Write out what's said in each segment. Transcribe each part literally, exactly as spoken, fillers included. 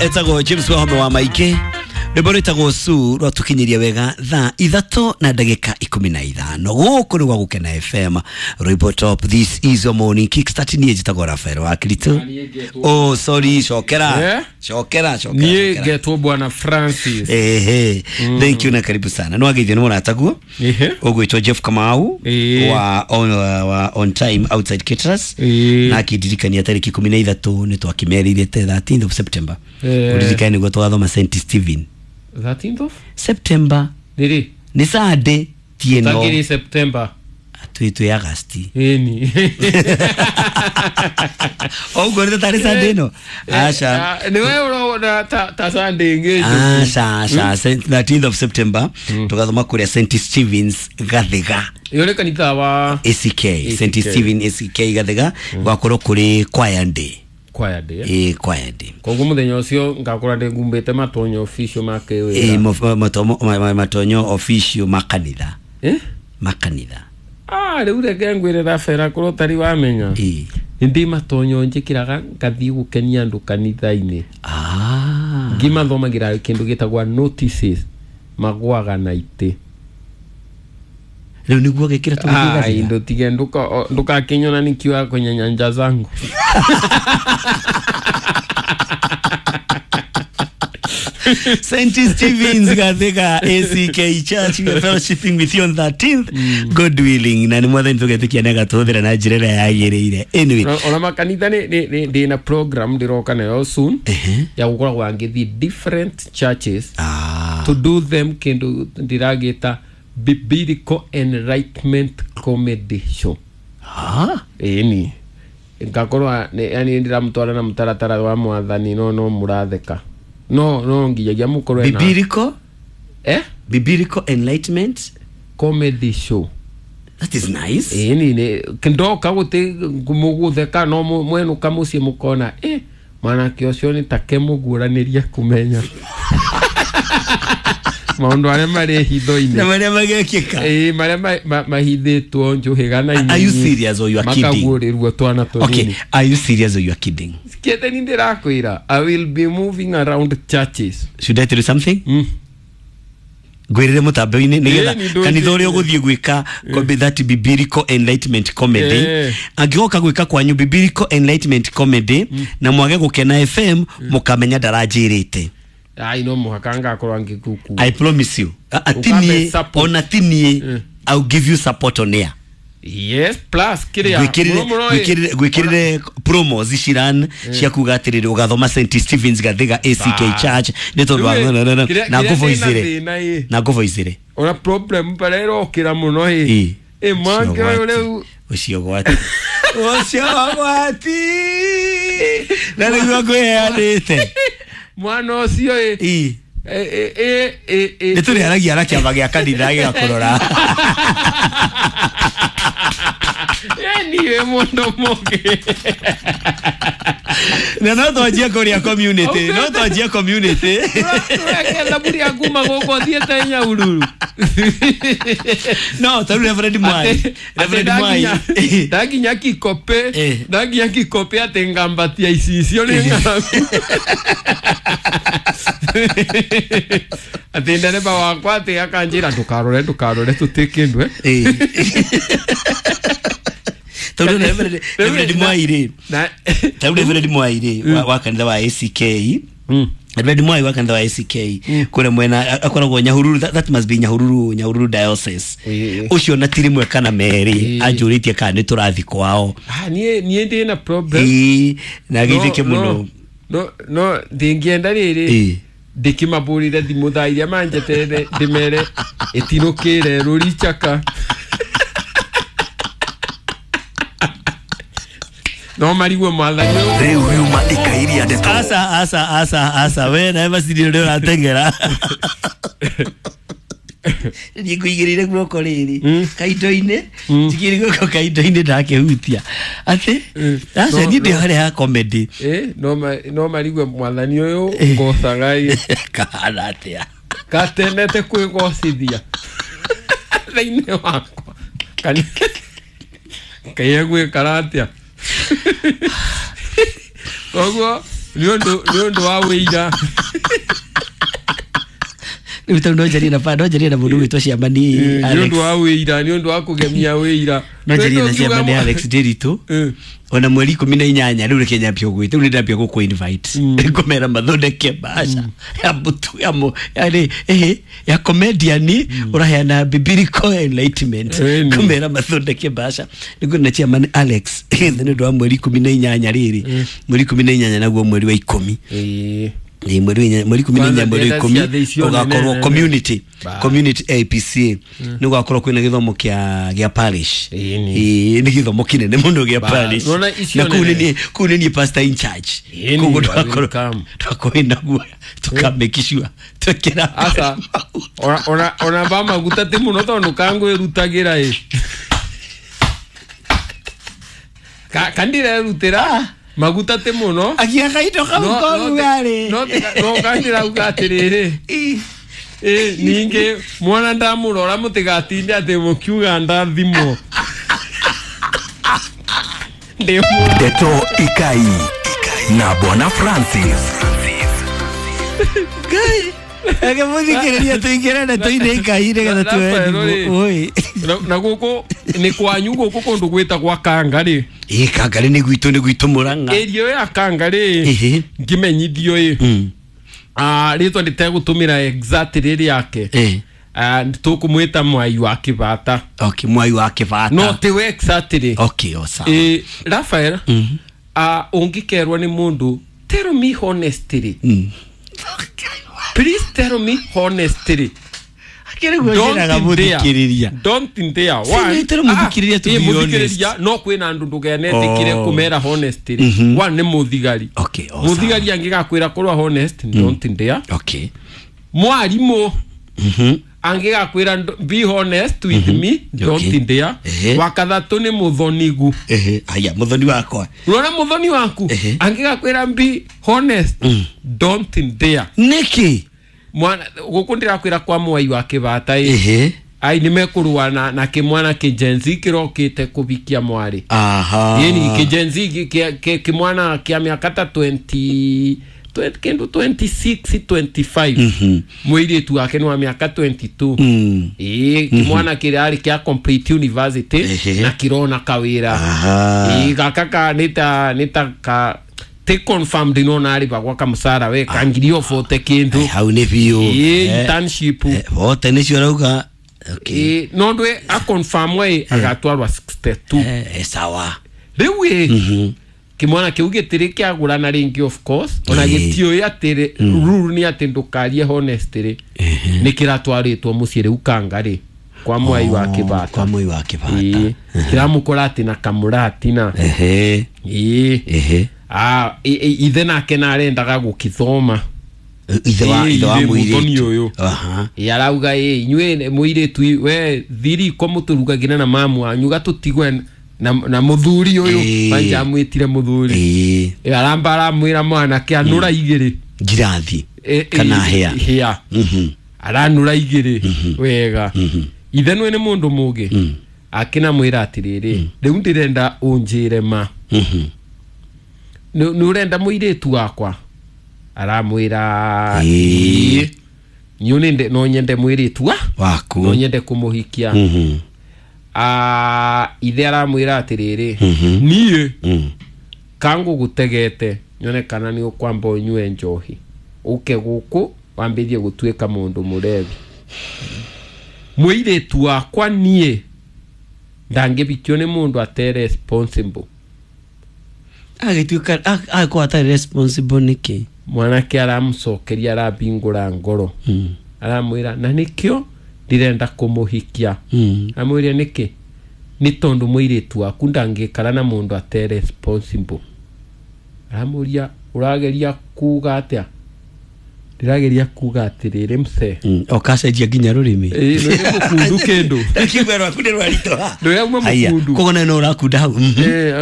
Etagwo James Wahome wa Maike rwĩmbo rwĩtagwo Su rwatũkinyĩria wega thaa ithatũ na ndagĩka ikũmi na ithano gũkũ nĩ gwa Gũkena F M rwĩmbo top. This is your morning kickstart. Niĩ njĩtagwo Rafael wa Kristo. Oh sorry, cokera cokera cokera. Niĩ ngetwo Bwana Francis. Ehe, thank you na karibu sana. No ageithio nĩ mũrataguo ũgwĩtwo Jeff Kamau wa on, wa on time outside caterers na akĩndirikania tarĩki ikũmi na ithatũ nĩ twakimerire thirteenth of September. Ũririkane nĩguo twathoma Saint Stephen thirteenth of September. Niri ni Sunday tieno Tagiri September atwitwe August eni ogo ni tari Sunday no asha ni wewe unaona ta, ta Sunday ngejo asha asha thirteenth of September tukathoma kuria Saint Stephen's Gathiga yole kanitha wa A C K Saint Stephen A C K Gathiga gwakorwo kuri choir day choir day eh choir day koguo muthenya ucio ngakora ndi ngumbite matonyo official make wira eh matonyo official makanitha eh makanitha ah riu reke ngwire Rafael korwo tari wamenya eh ndi matonyo njikiraga ngathii gukenia andu kanitha-ini ah ngimathomagira kindu gitagwa notices magwaga na iti riu niguo gikira tugiga ah ndo tige nduka ndukakinyona nikiwa kwenye nyanja zangu. Saint Stephen's Gathiga A C K Church, we are fellowshipping with you on thirteenth. Mm. God willing, na ni mwathani tugetikia gatuthira na njira ĩrĩa yagĩrĩire. Anyway, ona makanitha ni ni ndina program ndiroka nayo soon ya gukoragwo ngĩthiĩ different churches ah. to do them kindu ndiragita biblical enlightenment comedy show. Ah, eni ngakorwa yani ndiramutwara na mutaratara wa mwathani no no muratheka no no nginyagia mukorwe na biblical eh biblical enlightenment comedy show. That is nice. Eni ne kindoka guti mugutheka no mwenuka mucii mukona eh mwanake ucio ni take muguraniria kumenya maundu aria mari hitho-inĩ na maria magekĩka eh maria mahithĩtwo njuhiga na are you serious or you are kidding makaguũrĩrwo twana tũnini. Okay, are you serious or you are kidding? Sikiete ni ndĩrakwĩra I will be moving around churches. Should I tell you something? Mm. Ngwĩrĩre mũtambo-inĩ nĩgetha kanitha ũrĩa ũgũthiĩ gwĩka that biblical enlightenment comedy angĩgoka gwĩka kwanyu biblical enlightenment comedy na mwage Gũkena F M mũkamenya ndaranjĩrĩte. Ai no muhaka ngakorwo ngikuku. I promise you. Atini ona tinie I'll give you support on air. Yes, plus kiria gwikirire gwikirire promos iciran cia kuga atiriri ugathoma Saint Stephen's Gathiga A C K Church ni tondu na nguvoicire na nguvoicire ona problem parero kira muno hi e mwanke riu ucio gwati ucio gwati na niguo ngwiheanite mwana ucio e e e e e nĩ tũrĩaragia na kĩama gĩa kanitha gĩgakũrora. Niwe mundu mũngĩ na no twanjie kũrĩa community no twanjie community tũreke thaburi ya kuma gũkũ thiĩte Nyahururu no tarĩu Reverend Mwai Reverend Mwai ndakinya Kikope ndakinya Kikope atĩ ngambatia icicio nĩ ng'aragu atĩ ndereba wakwa atĩ akanjĩra ndũkarore ndũkarore tũtĩ kĩndũ eh Taru Reverend Reverend Mwai rĩ taru Reverend Mwai rĩ wa kanitha wa A C K Reverend Mwai wa kanitha wa A C K kũrĩa mwena akoragwo Nyahururu that must be Nyahururu Nyahururu diocese ucio na ti rĩmwe kana merĩ anjũrĩtie kana nĩ tũrathi kwao. Ah niĩ niĩ ndĩ na problem na gĩthĩke mũno no no ndingĩenda rĩrĩ ndĩkĩmabũrire thimũ thaa iria manjeterere ndĩmere ĩtinũkĩre rũri chaka no marigwo mwathani riu riuma ikairia ndeto asa asa asa asa we na basiri ũrĩa ũrateng'era niĩ ngũigĩrĩire guoko rĩrĩ kaindo-inĩ njigĩrĩire guoko kaindo-inĩ ndakĩhutia atĩ aca niĩ ndĩ harĩa ha comedy eh no no marigwo mwathani ũyũ ngocaga ĩ kahana atĩa katenete kwĩgocithia thĩinĩ wakwa kani kaiya gwĩkara atĩa koguo Nĩ ũndũ nĩ ũndũ wa wĩira. Rĩu tondũ no njarie na no njarie na mũndũ wĩtwo Ciamani Nĩ Alex. ũndũ wa wĩira, nĩ ũndũ wa kũgemia wĩira. No njarie na Ũngiuga Ciamani mwa- Alex Ndiritu. Eh. Ona mweri ikũmi na inyanya rĩu reke nyambie gũgwĩta rĩu nĩndambia gũkũ invite ngũmera mathondeke mbaca ya mũtu ya mũ ya rĩ ya comedian ũraheana biblical enlightenment Ĩni. ngũmera mathondeke mbaca nĩguo na Chairman Alex nĩ ũndũ wa mweri ikũmi na inyanya rĩrĩ mweri ikũmi na inyanya naguo mweri wa ikũmi Ĩĩ. Ĩ, mweri wa inya- mweri ikũmi na Kwanza inya mweri wa ndĩrenda ikũmi ciathĩ icio ũgakorwo nene. community Ba. community A P C nĩ ũgakorwo kwĩna gĩthomo kĩa gĩa parish Ĩni. Ĩ, nĩ gĩthomo kĩnene mũno gĩa Ba. parish Nona icio na kũu nĩ nene. niĩ kũu nĩ niĩ pastor in charge Ĩni, koguo you are tũgakorwo welcome. tũgakorwo na guoya tũka make sure twekĩra Aca ona ona ona ba maguta ti muno tondu kangwirutagira ĩ Ka kandirerutĩra maguta ti muno agia kaindo kau No- no koru te- yarĩ no te- no kandirauga atĩrĩrĩ Ĩ. ĩ ningĩ mwana ndamũrora mũtigatinde atĩ mũkiuga ndathimwo ndĩ mũ- Ndeto Ikai na Bwana Francis. Ngai ege mũthikĩrĩria tũingĩre ndeto-inĩ Ikai nĩgetha tuoe Rafael, thimũ rĩ. Oi. na na gũkũ nĩ kwanyu gũkũ kũndũ gwĩtagwa kanga rĩ Ĩ kangarĩ nĩ gwitũ nĩ gwitũ Mũrang'a ĩrio ya kanga rĩ Ĩhĩ. ngĩmenyithio ĩ Mm. Ah, rĩtwa ndĩtegũtũmĩra exact rĩrĩ yake Ĩ. Ah, tũkũmwĩta mwai wa kĩbata Okay, mwai wa kĩbata no tiwe exactly okay o sawa ĩ Rafael ah, ũngĩkerwo nĩ mũndũ tell me honestly Mm. please tell me honestly Akĩrĩ guo njĩraga mũthikĩrĩria don't dare Si, nĩ mũthikĩrĩria to Ah, ĩ, be mũthikĩrĩria honest. no kwĩna andũ ndũkenetĩkĩre Oh. kũmera honestly one nĩ mũthigari Okay, o sawa. mũthigari angĩgakwĩra korwo honest don't dare okay mwarimũ Mhm. angĩgakwĩra nd- be honest with me don't Okay. dare Ehe. wa kathatũ nĩ mũthonigu Ehe, haya mũthoni wakwa rora mũthoni waku Ehe. angĩgakwĩra be honest don't dare nĩkĩ mwana gũkũ ndĩrakwĩra kwa mwai wa kĩbata ĩ Ehe. ai nĩ mekũrũa na, na kĩmwana kĩjenzi kĩrokĩte kũbikia mwarĩ aha ĩni kĩjenzi kĩ- kĩ- kĩ- kĩmwana kĩa mĩaka ta twenty twenty- kĩndũ twenty-six twenty-five Mhm. mũirĩtu wake nĩ wa mĩaka twenty-two Mm. ĩĩ kĩmwana kĩrarĩ kĩa complete university Ehe. na kĩrona kawĩra aha ĩĩ gaka ka nĩ ta nĩ ta ka ti confirmed no narĩbagwa kamũcara we ka ngiri o bote kĩndũ Ai, hau nĩ biũ ĩĩ Eh, internship eh, bote nĩcio ũrauga okay ĩĩ no ndwe aconfirmwo ĩ agatwarwa sixty-two Eh, eh, sawa rĩu ĩ Mhm. kĩmwana kĩu gĩtirĩ kĩagũrana rĩngĩ of course ona Ĩĩ. gĩtiũĩ atĩ rule nĩ atĩ ndũkarie honest rĩ nĩ kĩratwarĩtwo mũciĩ rĩu kanga rĩ kwa mwai wa Oh, kĩbata kwa mwai wa kĩbata Ĩĩ. kĩramũkora atĩ na kamũratina ehe ĩĩ ehe Ah, ĩ- ĩ- ithe nake narendaga gũkĩthoma ithe wa Ĩĩ, ithe wa ithe mũthoni mũirĩtu ũyũ. aha Ĩ, arauga ĩ inyuĩ mũirĩtu we thiriko mũtũrugagĩra na mamu wanyu gatũtigwe na, na mũthuri ũyũ Ĩĩ. manja amwĩtire mũthuri ĩĩ Ĩ, aramba aramwĩra mwanake anũra igĩrĩ ngirathi Ĩ, ĩ, kana hĩa hĩa Mhm. aranũra igĩrĩ wega ithe nwe nĩ mũndũ mũgĩ akĩnamwĩra atĩrĩrĩ rĩu ndĩrenda ũnjĩre ma Mhm. nĩ nĩ ũrenda mũirĩtu wakwa aramwĩra Ĩĩ. ĩĩ niũ nĩ no nyende mũirĩtu wa waku no nyende kũmũhikia Mhm. Ah, ithe aramwĩra atĩrĩrĩ Mhm. niĩ Mm. kangũgũtegete nyone kana nĩ ũkwamba ũnyue njohi ũke gũkũ wambĩrie gũtuĩka mũndũ mũrevi mũirĩtu wakwa niĩ ndangĩbikio nĩ mũndũ ate responsible agĩtuĩka agĩkorwo atarĩ responsible nĩkĩ mwanake aramũcokeria arambingũra ngoro Mm. aramwĩra na nĩkĩo ndĩrenda kũmũhikia Mm. amwĩra nĩkĩ nĩ tondũ mũirĩtu waku ndangĩkara na mũndũ ate responsible aramũria ũrageria kuga atĩa ndĩrageria kuga atĩrĩrĩ mse Mm. okacenjia nginya rũrĩmĩ Ĩ, nĩ mũkundu kĩndũ ndakiuga rwaku nĩ rwaritũha Ndũrauma Haya, mũkundu. koguo nawe no ũrakunda hau Mhm. Eh,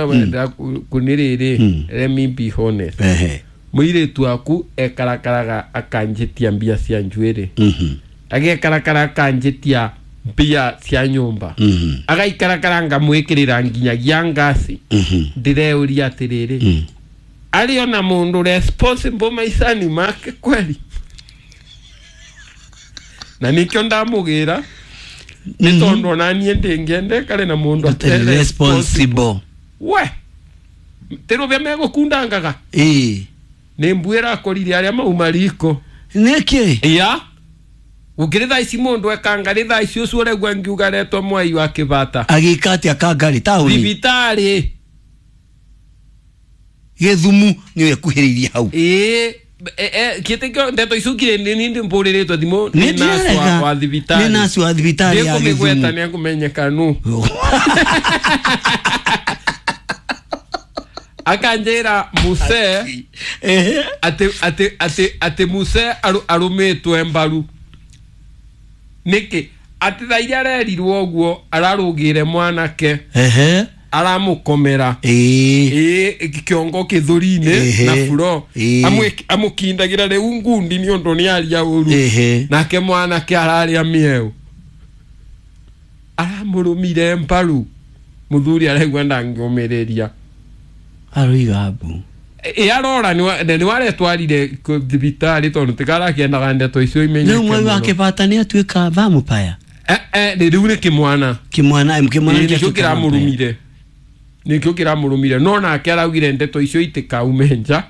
nĩ rĩrĩ let me be honest Ehe. mũirĩtu waku ekarakaraga akanjĩtia mbia cia njuĩrĩ Mhm. agekarakara akanjĩtia mbia cia nyũmba Mhm. agaikarakara ngamwĩkĩrĩra nginyagia ngasi Mhm. ndĩreuria atĩrĩrĩ Ari ona mundu responsible maicani make kweli. Na nikio ndamugira ni tondu ona nie ndingiende kare na mundu Atarĩ responsible. We tirubia megukundangaga Ĩĩ. Ni mbuira akorire aria mauma riko. Nĩkĩ? Ya gukiri thaa ici mundu ekanga ri thaa ici ucio uregua ngiuga retwo mwai wa kibata. Agĩka atĩa Kangarĩ taũni? Thibitarĩ. Gĩthumu nĩ ekuhĩrĩirie hau. Ĩĩ, kĩtĩkio ndeto icio ngire nĩ nĩ mbũrĩrĩtwo thimũ Nĩ nĩ nurse wa ndĩrarega. wa thibitarĩ. Nĩ nurse wa thibitarĩ ya Ndĩkũmĩgweta Gĩthumu. nĩ ekũmenyeka nũ. Akanjĩra muse Ehe. atĩ atĩ atĩ atĩ muse arũmĩtwe mbaru. Nĩkĩ? Atĩ thaa iria arerirwo ũguo ararũgĩre mwanake. Ehe. Aramũkomera. Ĩĩ. Ĩĩ, kĩongo kĩthũri-inĩ Ehe. na furo. Ĩĩ. Amũkindagĩra rĩu ngundi nĩ ũndũ nĩ aria ũru. Ehe. Nake mwanake ararĩa mĩeũ. Aramũrũmire mbaru. Mũthuri araigua ndangĩũmĩrĩria. Aroiga mbu. Ĩ arora nĩ waretwarire thibitarĩ tondũ tikarakĩendaga ndeto icio imenyeke Rĩu mwai wa mũno. kĩbata nĩ atuĩka vampire. Eh, eh, rĩu nĩ kĩmwana. Kĩmwana, kĩmwana Ĩĩ, nĩkĩo nĩkĩo atuĩka vampire. kĩramũrũmire. Nĩkĩo kĩramũrũmire. No nake araugire ndeto icio itikaume nja.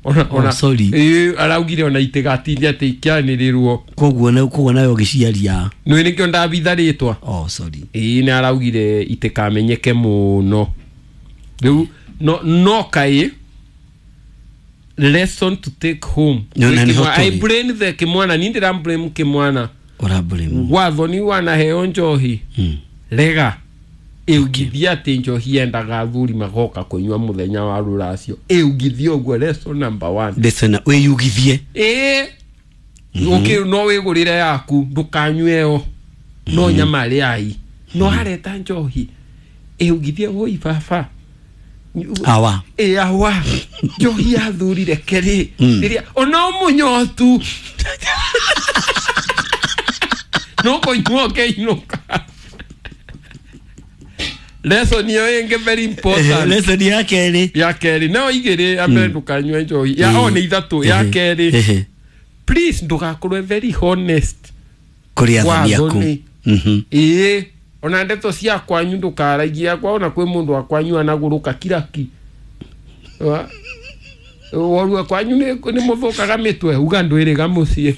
Ona, Oh, ona, sorry. Ĩĩ, araugire ona itigatinde atĩ ikĩanĩrĩrwo. Koguo na koguo nawe ũgĩciaria. Nĩ nĩkĩo ndabitha rĩtwa. Oh, sorry. Ĩĩ, nĩ araugire itikamenyeke mũno. Rĩu no no kaĩ lesson to take home. No, na nĩho I tũrĩ. blame the kĩmwana, niĩ ndĩra blame kĩmwana. Ũra blame. Wathoni wanaheo njohi. Mm. Rega. Ĩugithia atĩ njohi yendaga athuri magoka kũnyua mũthenya wa rũracio. Ĩugithia ũguo lesson number one. Lesson wĩyugithie. Ĩĩ. Ũkĩ no wĩgũrĩre yaku ndũkanyue ĩyo. No nyama rĩai. No areta njohi. Ĩugithie woi baba. Awa. Ĩ awa. Njohi ya athuri reke rĩ. Mm. Rĩrĩa ona mũnyotu. No kũnyua ũkĩinũka. Lesson ĩyo ĩngĩ very important. Lesson ya kerĩ. Ya kerĩ no igĩrĩ ya mbere ndũkanyue njohi. Ya o nĩ ithatũ. Ya kerĩ. Ehe. Please ndũgakorwe very honest. Kũrĩ athoni aku. Wathoni. Mhm. Ĩĩ. Ona ndeto cia kwanyu ndũkaragia kwa ona kwĩ mũndũ wa kwanyu anagũrũka kiraki. Wa Worua kwanyu nĩ nĩ mũthũkaga mĩtwe uga ndwĩrĩga mũciĩ.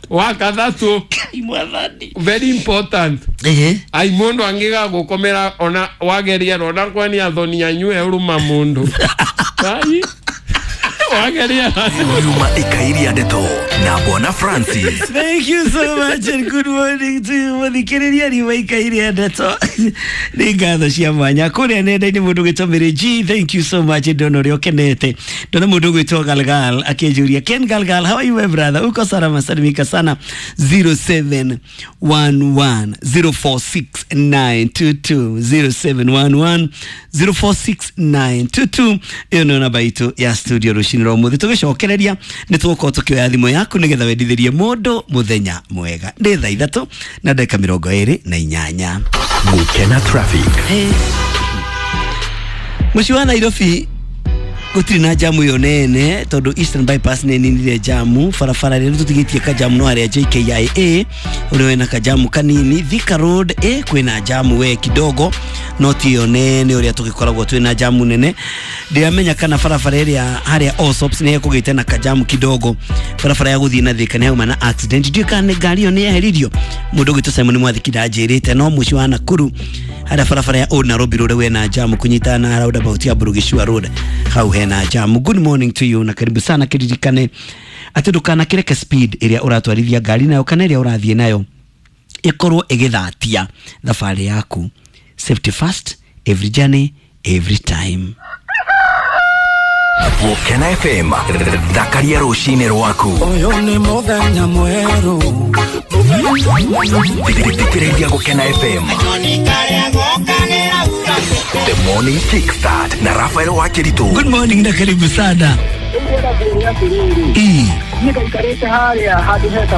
Wa kathatũ. Mwathani. Very important. Ehe. Ai mundu angiga gukomera ona wageria ona kwani athoni anyue uruma mundu. Ai wageria. Nyuma ikairia ndeto na Bwana Francis. Thank you so much and good morning to you. Muthikiriria riũa ikairia ndeto. Nĩ ngatho cia mwanya kũrĩa nenda-inĩ mũndũ ũgwĩtwo Mary G. Thank you so much. Ndona ũrĩa ũkenete. Ndona mũndũ ũgwĩtwo Galgal akĩnjũria Ken Galgal, how are you my brother? Uko salama salimika sana. zero seven one one zero four six nine two two zero seven one one zero four six nine two two. Ĩyo nĩyo namba itũ ya studio rũcinĩ rwa ũmũthĩ. Tũgĩcokereria nĩ tũgũkorwo tũkĩoya thimũ yaku nĩgetha wendithĩrie mũndũ mũthenya mwega. Nĩ thaa ithatũ na ndagĩka mĩrongo ĩrĩ na inyanya. Gukena traffic. Mũciĩ wa Nairobi gũtirĩ na jamu ĩyo nene tondũ Eastern Bypass nĩ ĩninire jamu. Barabara rĩrĩa tũtigĩtie kajamu no harĩa J K I A ũrĩa wĩna kajamu kanini. Thika Road ĩ kwĩna jamu we kidogo no ti ĩyo nene ũrĩa tũgĩkoragwo twĩna jamu nene. Ndiramenya kana barabara ĩrĩa harĩa Allsops nĩ ĩkũgĩte na kajamu kidogo. Barabara ya gũthiĩ na Thika nĩ hauma na accident. Ndiũĩ kana ngari ĩyo nĩ yeheririo. Mũndũ ũgwĩtwo Simon Mwathiki ndanjĩrĩte no mũciĩ wa Nakuru harĩa barabara ya Old Nairobi Road wena jamu kunyitana na roundabout ya Burugishua Road hau hena jamu. Good morning to you na karibu sana. Kiririkane atĩ ndũkanakĩreke speed ĩrĩa ũratwarithia ngari nayo kana ĩrĩa ũrathiĩ nayo ĩkorwo ĩgĩthatia thabarĩ yaku. Safety first, every journey, every time. Gukena F M thakaria rũcinĩ rwaku. Ũyũ nĩ mũthenya mwerũ. Thikĩrĩria Gukena F M. The Morning Kickstart na Rafael Wakiritu. Good morning na karibu sana. Ii. Nĩ gaikarĩte harĩa handũ heta